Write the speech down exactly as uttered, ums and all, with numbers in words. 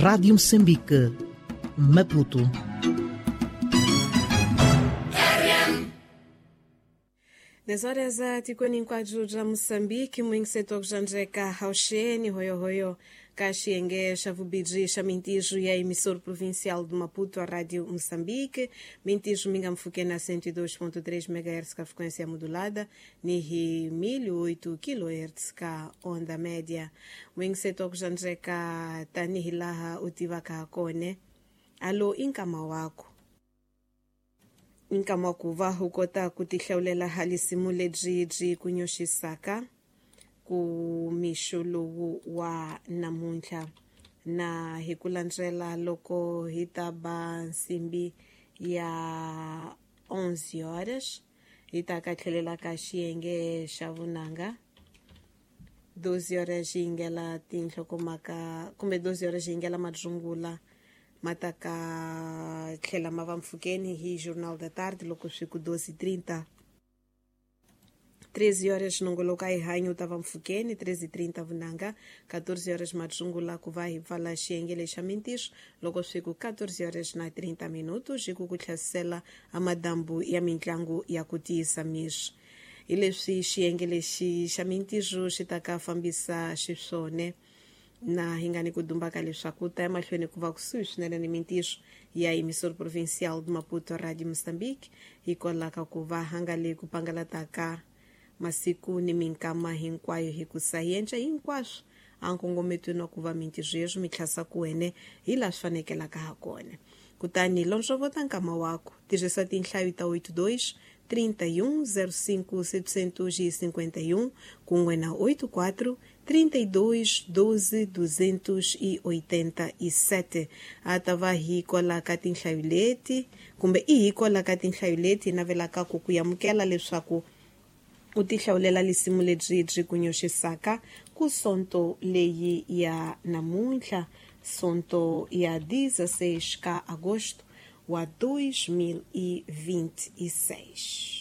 Rádio Moçambique, Maputo. dez horas a tikweni nkwaju ja Moçambique, mwingiseto kujanjeka hauxeni hoyohoyo kaxienge xa vubiji xa mintijo ya emissor provincial de Maputo, a Rádio Moçambique. Mintijo minga mfuke na cento e dois ponto três megahertz ka frequência modulada, nihi mil e oito kilohertz ka onda média. Mwingiseto kujanjeka tanihi laha utiva ka kone. Alo inkama wako. Nkama ku va u kota ku tihlawulela halisimu lebyi byi ku nyoxisaka ku mixo lowu wa namuntlha na hi ku landzela loko hi ta ba nsimbi ya onze horas hi ta ka tlhelela ka xiyenge xa vunanga doze horas yi yingela tinhlokomhaka kumbe doze horas yi yingela madzungula mataka tlhela ma va mpfhukeni hi Jornal da Tarde loko swi ku doze e trinta. treze horas nongoloka hi hanyo ta va mpfhukeni treze e trinta vunanga quatorze horas madzungula ku va hi pfala xiyenge lexa mintirho loko swi ku quatorze horas na trinta minutos hi ku ku tlhasela a madambu ya mintlangu ya ku tiyisa miri hi leswi xiyenge lexi xa mintirho xi ta ka fambisa xiswone na hi nga ni ku dumbaka leswaku ta emahlweni ku va kusuhi swinene ni mintirho ya emissor provincial de Maputo Radio Moçambique hikwalaho ka ku va hangale ku pangalataka masiku ni minkama hinkwayo hi ku sayenca hinkwaswo a nkongometweni wa ku va mintirho yeswo mi tlhasa ku wene hi laha swi fanekelaka ha kona. Kutani londzovota nkama wako tirhisa tinhlayo ta oito dois trinta e um zero cinco setecentos e cinquenta e um kun'we na oito quatro trinta e dois doze duzentos e oitenta e sete. A ta va hi kwala ka tinhlayo leti kumbe i hi kwala ka tinhlayo leti navelaka ku ku amukela leswaku u tihlawulela lisimu lebyi byi ku nyoxisaka ku sonto leyi ya namuntlha, sonto ya dezesseis ka agosto wa dois mil e vinte e seis.